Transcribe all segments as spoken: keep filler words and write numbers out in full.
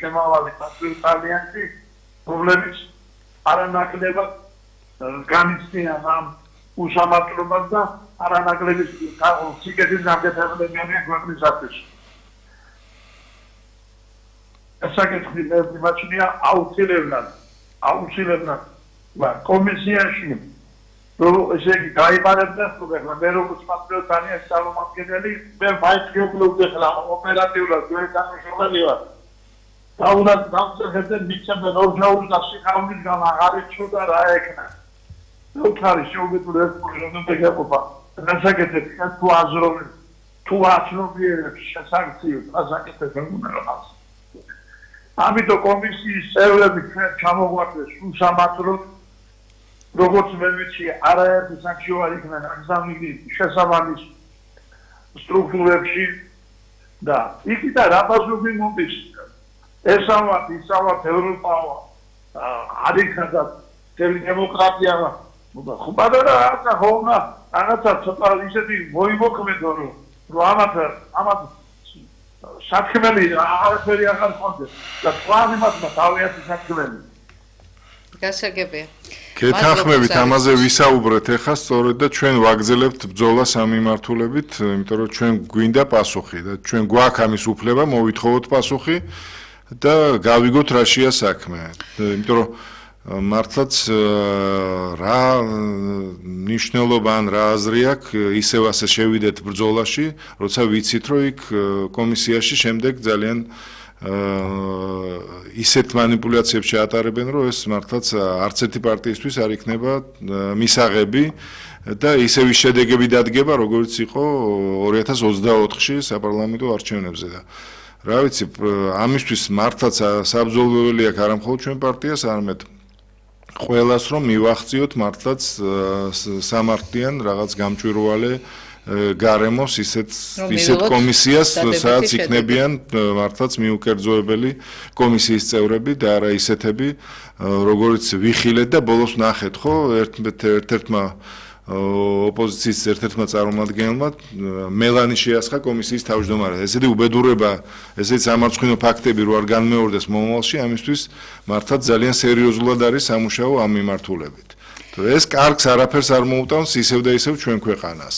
შემავალი პატრიოტალიანში პრობლემის არანაკლებად განიცდიან ამ უსამართლობას და არანაკლების სიკეთის გამგებლიანია ქვეყნისათვის. საკითხი მე მიმაჩნია აუცილებლად აუცილებლად კომისიაში რომ ესე იგი გაიმარებდა ხოლმე მე როგორც პატრიოტალიანის წარმომადგენელი მე მაინც გეუბნებოდი ხლა ოპერატიულად გვერდანაშრომელი ვარ და უნდა დავწერდე მიცემენ ორჟაურის და სიხარულის გამ აღარ იცოდა რა ეკნა უთხარი შეუბედური ეს რომ დაგეყოფა დასაკეთებ თუ აზრობ თუ აცნობიერებს შესაძლებლად დასაკეთებ უნდა რაღაც ამიტომ კომისიის წევრები ჩამოგვაქვს უსამართლოდ როგორც მე ვიცი არაერთი საქმე იქნა გაგზავნილი შესაბამის სტრუქტურებში და იქიდან რაბაზობი მომდის ესავათ ისავათ ევროპავა არიქადა დემოკრატია ხო პატარა რაღაცა ხონა რაღაცა ცოტა ისეთი მოიმოქმედო რომ რომ ამათ ამათ საქმელი აღარაფერი აღარ ხონდეს და თქვენ იმათმა თავიანთი საქმელი გასაგებია გეთანხმებით ამაზე ვისაუბრეთ ახლა სწორედ და ჩვენ ვაგრძელებთ ბრძოლას ამ მიმართულებით, იმიტომ რომ ჩვენ გვინდა პასუხი და ჩვენ გვაქვს ამის უფლება მოვითხოვოთ პასუხი და გავიგოთ რაშია საქმე. იმიტომ რომ მართლაც რა ნიშნულობა ან რა აზრი აქვს ისევ ასე შევიდეთ ბრძოლაში, როცა ვიცით რომ იქ კომისიაში შემდეგ ძალიან ისეთ манипуляციებს შეატარებენ, რომ ეს მართლაც არც ერთი პარტიისთვის არ იქნება მისაღები და ისევ ის შედეგები დადგება, როგორც იყო ორი ათას ოცდაოთხში საპარლამენტო არჩევნებზე და რა ვიცი, ამისთვის მართლაც საბრძოლველი აქვს არა მხოლოდ ჩვენ პარტიას, არამედ ყველას რომ მივახციოთ მართლაც სამართლიან რაღაც გამჭვირვალე გარემოს ისეთ ისეთ კომისიას, სადაც იქნებიან მართლაც მიუკერძოებელი კომისიის წევრები და არა ისეთები, როგორც ვიხილეთ და ბოლოს ნახეთ, ხო, ერთ-ერთმა ოპოზიციის ერთ-ერთმა წარმომადგენელმა მელანი შეასხა კომისიის თავმჯდომარედ. ესეთი უბედურება, ესეთი სამარცხვინო ფაქტები რო არ განმეორდეს მომავალში, ამისთვის მართლაც ძალიან სერიოზულად არის სამუშაო ამ მიმართულებით. ეს კარგს არაფერს არ მოუტანს ისევ და ისევ ჩვენ ქვეყანას.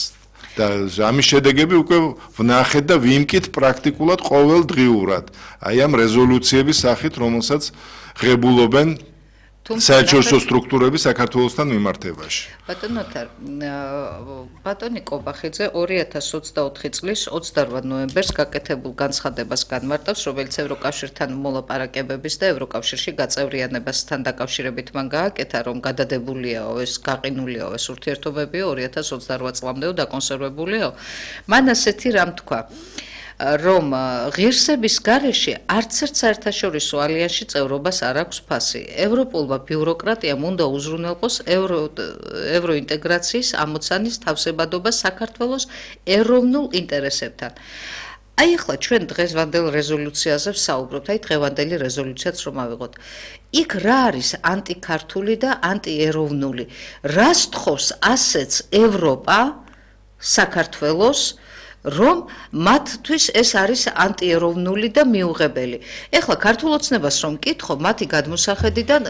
და ამის შედეგები უკვე ვნახეთ და ვიმკით პრაქტიკულად ყოველდღიურად აი ამ რეზოლუციების სახით, რომელსაც ღებულობენ საერთაშორისო სტრუქტურები საქართველოსთან მიმართებაში. ბატონო თარ, ბატონი კობახიძე ორი ათას ოცდაოთხი წლის ოცდარვა ნოემბერს გაკეთებულ განცხადებას განმარტავს, რომელიც ევროკავშირთან მოლაპარაკებების და ევროკავშირში გაწევრიანებასთან დაკავშირებით მან გააკეთა, რომ გადადებულიაო ეს გაყინულიაო ეს ურთიერთობებიო ორი ათას ოცდარვა წლამდეო დაკონსერვებულიაო. მან ასეთი რამ თქვა რომ ღირსების გარეშე არც ერთ საერთაშორისო ალიანსში წევრობას არ აქვს ფასი. ევროპულმა ბიუროკრატიამ უნდა უზრუნველყოს ევრო ევროინტეგრაციის ამოცანის თავსებადობა საქართველოს ეროვნულ ინტერესებთან. აი ახლა ჩვენ დღევანდელ რეზოლუციაზე ვსაუბრობთ, აი დღევანდელი რეზოლუციაც რომ ავიღოთ. იქ რა არის ანტიქართული და ანტიეროვნული? რას თხოვს ასეც ევროპა საქართველოს რომ მათთვის ეს არის ანტიეროვნული და მიუღებელი. ეხლა ქართულ ოცნებას რომ მკითხო, მათი გადმოსახედიდან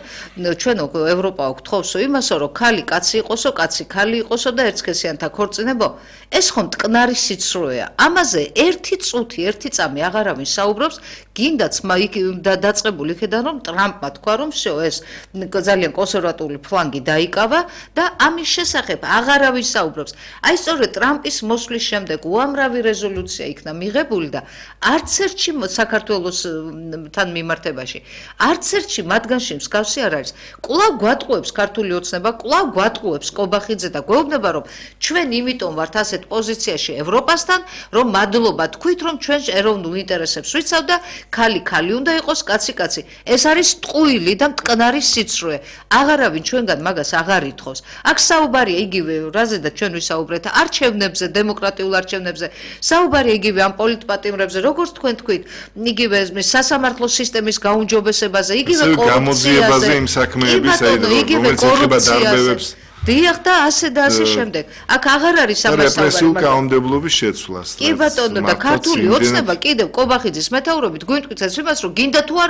ჩვენ ევროპა გთხოვსო იმასო, რომ ქალი კაცი იყოსო, კაცი ქალი იყოსო და ერთსქესიანთა ქორწინებო. ეს ხომ მტკნარი სიცრუეა. ამაზე ერთი წუთი, ერთი წამი აღარავინ საუბრობს, გინდაც დაწყებული იქიდან რომ ტრამპმა თქვა, რომ всё ეს ძალიან კონსერვატული ფლანგი დაიკავა და ამის შესახებ აღარავინ საუბრობს. აი სწორედ ტრამპის მოსვლის შემდეგ უამრავი რეზოლუცია იქნა მიღებული და არც ერთში საქართველოსთან მიმართებაში, არც ერთში მათგანში მსგავსი არ არის. კვლავ გვატყუებს ქართული ოცნება, კვლავ გვატყუებს კობახიძე და გვეუბნება, რომ ჩვენ იმიტომ ვართ ასეთ პოზიციაში ევროპასთან, რომ მადლობა თქვით, რომ ჩვენ ეროვნულ ინტერესებს ვიცავ და ქალი ქალი უნდა იყოს, კაცი კაცი. ეს არის ტყუილი და მტკნარი სიცრუე. აღარავინ ჩვენგან მაგას აღარ ითხოვს. აქ საუბარია იგივე რაზედაც ჩვენ ვისაუბრეთ არჩევნებზე, დემოკრატიულ არჩევნებზე. საუბარია იგივე ამ პოლიტპატიმრებზე, როგორც თქვენ თქვით, იგივე სასამართლო სისტემის გაუმჯობესებაზე, იგივე კორუფციაზე, იმ საქმეების, რომელიც ეხება დარბევებს. დიახ და ასე და ასე შემდეგ. აქ აღარ არის ამას საუბარი. რეპრესიულ კანონმდებლობის შეცვლას. კი ბატონო და ქართული ოცნება კიდევ კობახიძის მეთაურობით გვიმტკიცებს იმას, რომ გინდა თუ არა